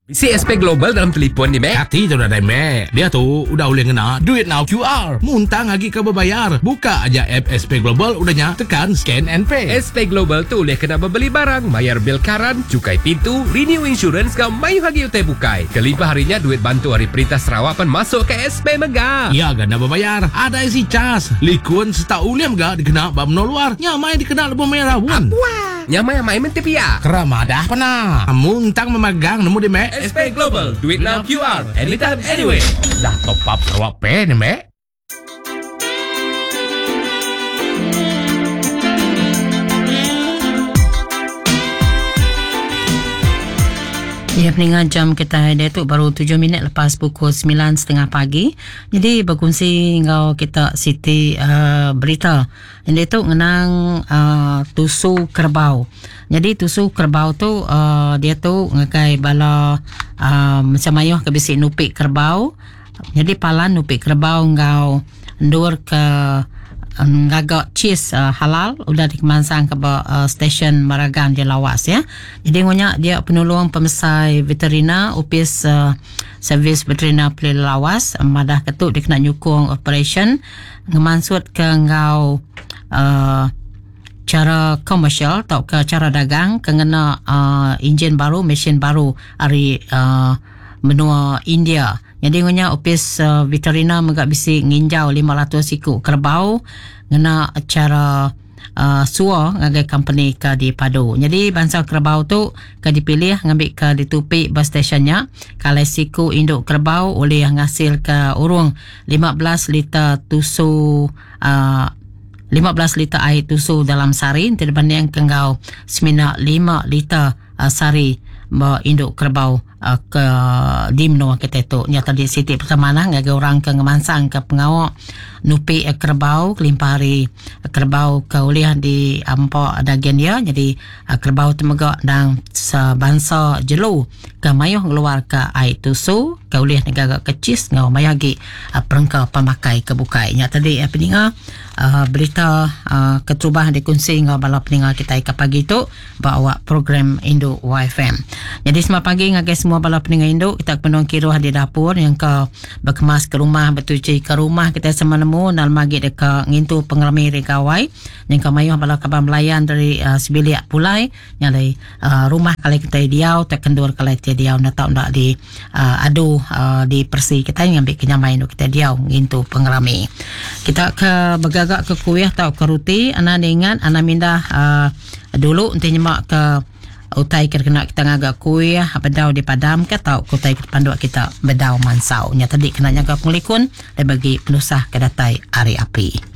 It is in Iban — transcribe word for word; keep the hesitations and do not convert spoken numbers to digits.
C S P Global dalam telefon ni, Mek. Hati tu dah Mek. Dia tu udah boleh ngena duit now Q R. Muntang lagi ke berbayar. Buka aja app S P Global, udahnya tekan scan and pay. S P Global tu boleh kena berbeli barang, bayar bil karan, cukai pintu, renew insurance kau mayu lagi utai bukai. Kelimpah harinya duit bantu hari perintah Sarawak pun masuk ke S P Mega. Ya gana berbayar. Ada isi cas. Likun serta uliam ga dikena bab luar. Nyamai dikena lebih merah pun. Wah. Nyamai amai mentipia. Keramadah pernah. Muntang memegang nemu di Mek. S P Global, duit now Q R, anytime, anyway. Dah top up Sarawak Pay ni, Mek. Ya, pendengar, jam kita dia tu baru tujuh minit lepas pukul sembilan setengah pagi. Jadi berkongsi ngau kita Siti uh, berita. Yang itu ngenang uh, tusu kerbau. Jadi tusu kerbau tu uh, dia tu ngakai bala uh, macam mayuh ke bisi nupik kerbau. Jadi palan nupik kerbau ngau ndur ke ngagak cheese uh, halal udah dikemansang ke uh, stesen Maragan di Lawas ya. Jadi ngonya dia penolong pemesai veterina office uh, servis veterina Pelih Lawas madah ketuk dia kena nyukung operation ngemansut ke ngau uh, cara komersial atau ke cara dagang ke ngena uh, enjin baru, mesin baru ari uh, menua India. Jadi ngonya office uh, veterina megak bisi nginjau lima ratus iku kerbau ngena cara uh, sua ngagai company ke di Padu. Jadi bangsa kerbau tu ke dipilih ngambil ke ditupi bus stationnya. Kalau siku induk kerbau oleh ngasil ke urung lima belas liter tusu uh, lima belas liter air tusu dalam sari terbanding kenggau semina lima liter uh, sari ba induk kerbau uh, ke di menua kita tu. Nyata di siti pertama nah ngagai orang ke ngemansang ke pengawak nupi uh, kerbau kelimpah hari uh, kerbau ke ulih di ampak daging dia. Jadi uh, kerbau tu megak dang sebangsa jelu ke mayuh ngeluar ke air tusu ke ulih negara kecis ngau mayuh agi uh, perengka pemakai ke bukai. Nyata di uh, peninga uh, berita uh, keterubah dikongsi ngau bala peninga kita ke pagi tu bawa program Indo Y F M. Jadi selamat pagi ngagai semua bala peninga induk kita penuh kiruh di dapur yang ke berkemas ke rumah bertuci ke rumah kita sama nemu nal magi deka ngintu pengerami regawai yang ke mayuh bala kaban melayan dari uh, sebilik pulai yang dari uh, rumah kali kita diau tak kendur kali kita diau nak tak nak di uh, adu uh, di persi kita yang ambil kenyamai induk kita diau ngintu pengerami. Kita ke bergagak ke kuih atau ke roti ana ingat ana mindah uh, dulu nanti nyemak ke utai kena kita ngagak kuih bedau di padam ke tau utai panduk kita bedau mansau. Nya tadi kena nyaga pengelikun dan bagi penusah ke datai ari api.